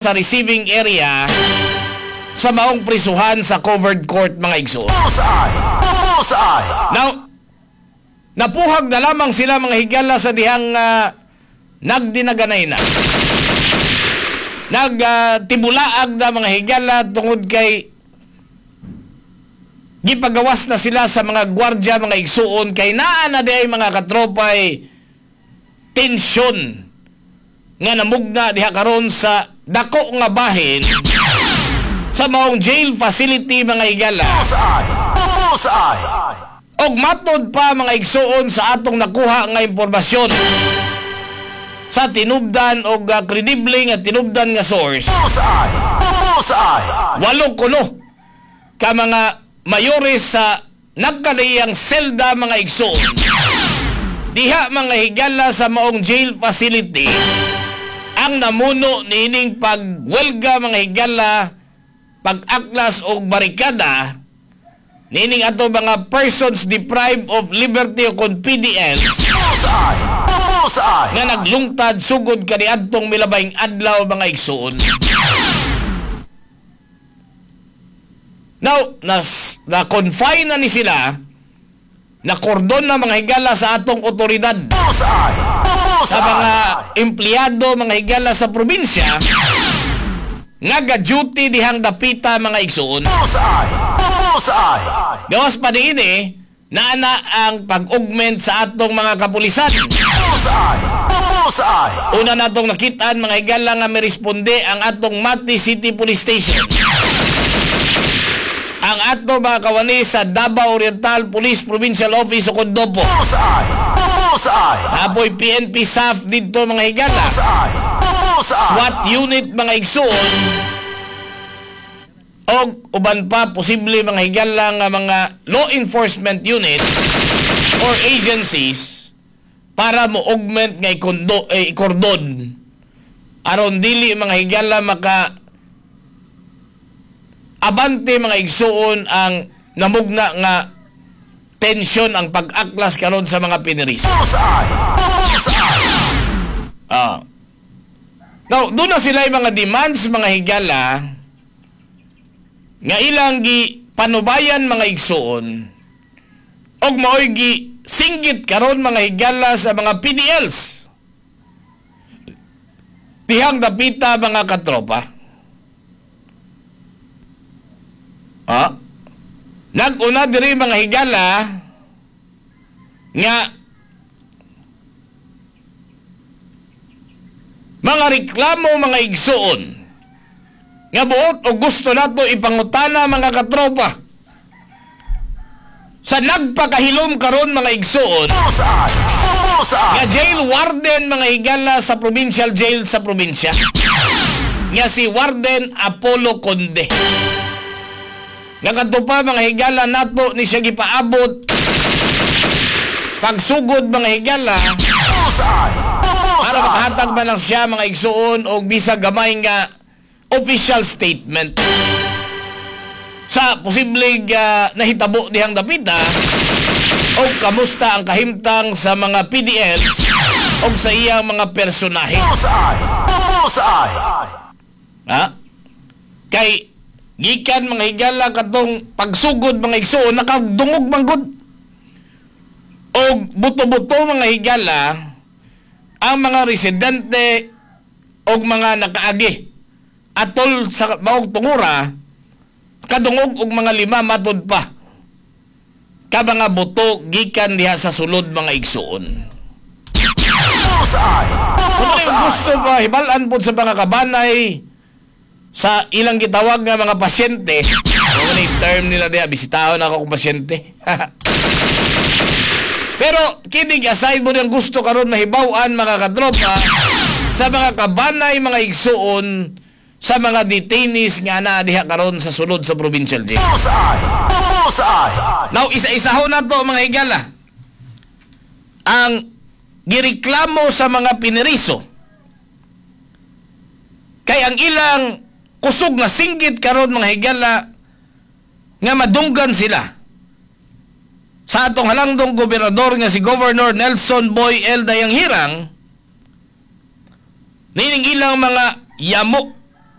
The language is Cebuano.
Sa receiving area sa maong prisuhan sa covered court, mga igsoon. Bullseye! Bullseye! Now, napuhag na lamang sila, mga higala, sa dihang nagdinaganay na. Nagtibulaag na, mga higala, tungod kay gipagawas na sila sa mga gwardya, mga igsuon, kay naa na diay, mga katropay, tensyon nga namugna diha karon sa dako nga bahin sa maong jail facility, mga higala. Bullseye! Bullseye! Og matod pa, mga igsuon, sa atong nakuha nga impormasyon sa tinubdan og kredible nga tinubdan nga source, Bullseye! Bullseye! 8 kuno ka mga mayores sa nagkalaiyang selda, mga igsuon, diha, mga higala, sa maong jail facility ang namuno niining pagwelga, mga higala, pag-aklas og barikada niining ato mga persons deprived of liberty o kon PDLs Bullseye! Bullseye! nga naglungtad sugod kaniadtong milabayng adlaw, mga igsuon. Now, na-confine na ni sila, na kordon na, mga higala, sa atong otoridad Bullseye! sa mga Bullseye! empleyado, mga higala, sa probinsya nga ga-duty dihang dapita, mga igsuon. Bullseye! Bullseye! Gawas pa diini, naana ang pag-augment sa atong mga kapulisan. Bullseye! Bullseye! Una natong nakitaan, mga higala, nga miresponde ang atong Mati City Police Station. Ang ato mga kawani sa Davao Oriental Police Provincial Office o kon DOPO. Bullseye! Bullseye! Apoy PNP SAF dito, mga higala. Bullseye! Bullseye! SWAT unit, mga igsuon. Og uban pa posible, mga higala, nga mga law enforcement unit or agencies para mo augment nga ikondo, eh, ikordon aron dili, mga higala, maka abante, mga igsuon, ang namugna nga tensyon, ang pag-aklas karon sa mga pinirisa. Bullseye! Bullseye! Ah. Now, doon na sila yung mga demands, mga higala, nga ilang gi panubayan, mga igsuon, og maoy gi singgit karon, mga higala, sa mga PDLs dihang dapita, mga katropa. Ah? Nag-una diri, mga higala, nga mga reklamo, mga igsuon, nga buot o gusto nato ipangutana, mga katropa, sa nagpakahilom karon, mga igsuon, Bullseye! Bullseye! nga jail warden, mga higala, sa provincial jail sa probinsya nga si Warden Apollo Conde, nga kadto pa, mga higala, nato ni siya gipaabot pagsugod, mga higala, Bullseye! para Bullseye! makahatag man lang siya, mga igsuon, og bisag gamay nga official statement sa posibleng nahitabo dihang dapita o kamusta ang kahimtang sa mga PDLs o sa iyang mga personahe. Bullseye! Bullseye! Ha? Kay gikan, mga higala, katong pagsugod, mga igsuon, nakadungog man gud og buto-buto, mga higala, ang mga residente og mga nakaagi atol sa maong tungura, kadungog og mga 5, matod pa, ka mga buto gikan diha sa sulod, mga igsuon. Bullseye! Kung ano yung Bullseye! gusto pa, hibalan po sa mga kabanay sa ilang gitawag nga mga pasyente. Ano na yung term nila diha, bisitahon ako kung pasyente. Pero kidding aside mo yung gusto karon mahibaw-an, mga katropa, sa mga kabanay, mga igsuon, sa mga detainees nga naa diha karon sa sulod sa provincial jail. Bullseye! Bullseye! Now, isa-isahon na to, mga higala, ang gireklamo sa mga piniriso. Kay ang ilang kusog nga singgit karon, mga higala, nga madunggan sila sa atong halangdong gobernador nga si Governor Nelson Boy L. Dayanghirang nining ilang mga yamo.